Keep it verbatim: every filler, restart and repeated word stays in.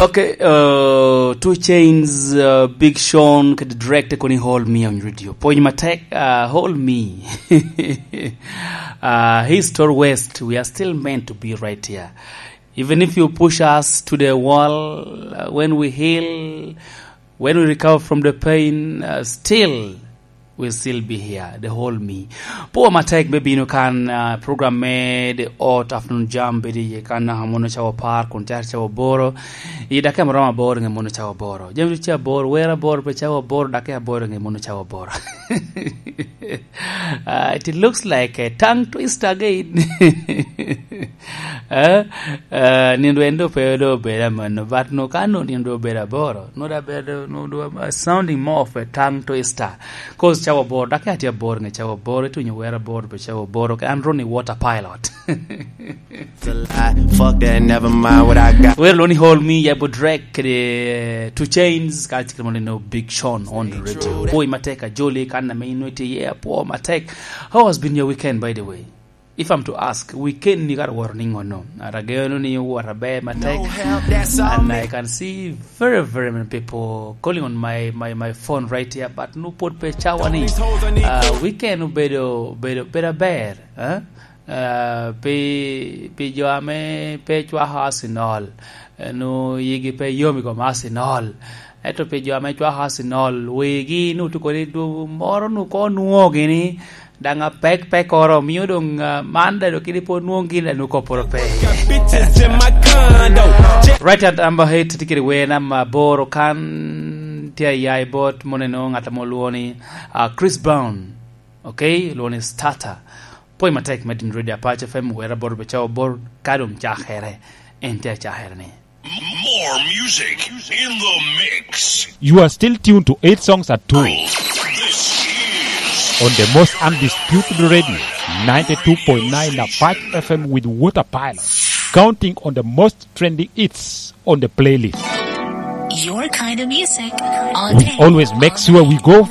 Okay, uh, Two Chains, uh, Big Sean, kede Drake te koni Hold Me on radio. Pwony matek, uh, Hold Me. Uh, East or West, we are still meant to be right here. Even if you push us to the wall, uh, when we heal, when we recover from the pain, uh, still, will still be here, the whole me. Pwo matek me bino kan, uh, program me The Hot Afternoon Jam, bedo iye kan, uh, mono cawa apar, kun caro cawa aboro. I dakika maromo aboro nge mono cawa aboro. Jami ca aboro, wer aboro pe cawa aboro, dakika aboro nge mono cawa aboro. Uh, it looks like a tongue twister again. Eh? Eh, nindo en do pe do obedo amanno, but no ka no nindo obedo aboro, no da bedo, no do, uh, sounding more of a tongue twister. 'Cause cawa aboro, dak atye aboro nge cawa aboro, itunyo wer aboro pe cawa aboro, ke an Ronnie Water Pilot. It's a lie. Fuck that, never mind what I got. Wer loni Hold Me, ya bo Drake, kede Two Chains, ka chikere mo nino Big Sean on the radio. Pwony matek a Jolly, kan na me ino iti, yeah, pwo matek. How has been your weekend, by the way? If I'm to ask, weekend ni kara woro ni ngono? Ara geno ni woro aber matek. No help, that's all. And me. I can see very, very many people calling on my, my, my phone right here, but no pot pe cawa ni. Uh, weekend obedo, bedo, bedo aber, eh? Uh, pi, pi jo ame pe cwako Arsenal, eh, no yigi pe yom i kom Arsenal. Ento pi jo ame cwako Arsenal, wigi nu tuko ni du-, moro nu ko nwogi ni, daŋ apek pekoro, omio doŋ, ah, man daŋ doŋ kede pwod nwoŋo gin daŋ nwoŋo kopporo pe. Right at number eight, tye kede wer namba aboro kan, tye aya i bot moni no, ŋat ame olwoŋo ni, ah, Chris Brown, okay, olwoŋo ni Starter. Pwony matek me din Radio Apac F M, wer aboro pe cawa aboro, ka doŋ cakere, en tye acakere ni. More music in the mix. You are still tuned to Eight Songs at Two. This is on the most undisputed radio, ninety-two point nine Apache F M with Water Pilot, counting on the most trending hits on the playlist. Your kind of music all day. We always make sure we go